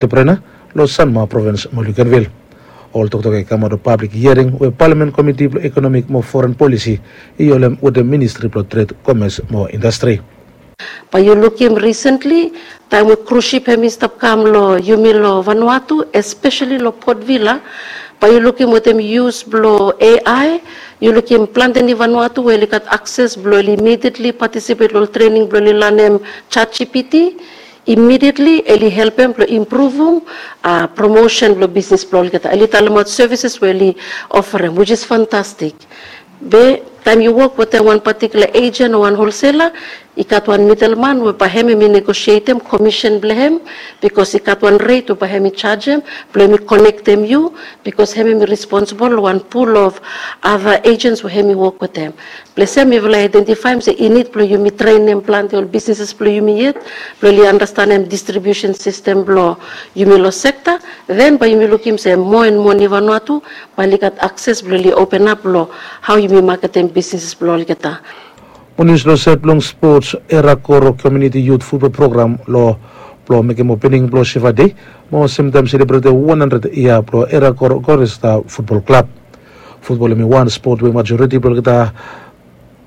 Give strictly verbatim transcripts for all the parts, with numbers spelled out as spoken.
Entrepreneur long Sanma provins mo Luganville. Ol toktok i kamaot long pablik hiaring we Palamen Komiti blong Ekonomik mo Foren Polisi i holem wetem Ministri blong Tred, Komes mo Indastri. Bae yu lukim risentli taem we krus sip hem i stap kam long yumi long Vanuatu, espeseli long Port Vila, bae yu lukim wetem yus blong A I, yu lukim plante ni Vanuatu we oli gat akses blong oli imedietli patisipet long trening blong oli lanem ChatGPT. Imedietli oli helpem blong impruvum promosen blong bisnis blong olgeta. Oli talemaot sevises we oli oferem, which is fantastik. Be taem yu wok wetem wan patikula ejen o wan holsela, i gat wan midelman we bae hem hem i negosietem komisen blong hem, bikos i gat wan ret we bae hem i jajem blong hem i konektem yu, bikos hem hem i responsibol long wan pul of ada ejens we hem i wok wetem. Blong hem mifala i aedentifaem se i nid blong yumi trenem plante ol bisnises blong yumi yet blong oli andastanem distribiusen sistem blong yumi long sekta. Den bae yumi lukim se moa en moa ni Vanuatu bae oli gat akses blong oli openap long hao yumi maketem bisnis blong olgeta. Mo nius long saed blong spots, Era Koro Komuniti Yut Futbol Program long blong mekem opening blong Siva Dei mo semtaem selebretem wan handred yia blong Era Koro Koresta Futbol Klab. Futbol hem i wan spot we majoriti blong olgeta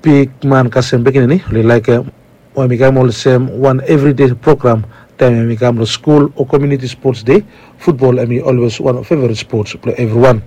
bigman kasem pikinini oli laekem, we hem i kam olsem wan evride program. Taem hem i kam long skul o komuniti spots dei, futbol hem i olwes wan feveret spots blong evriwan.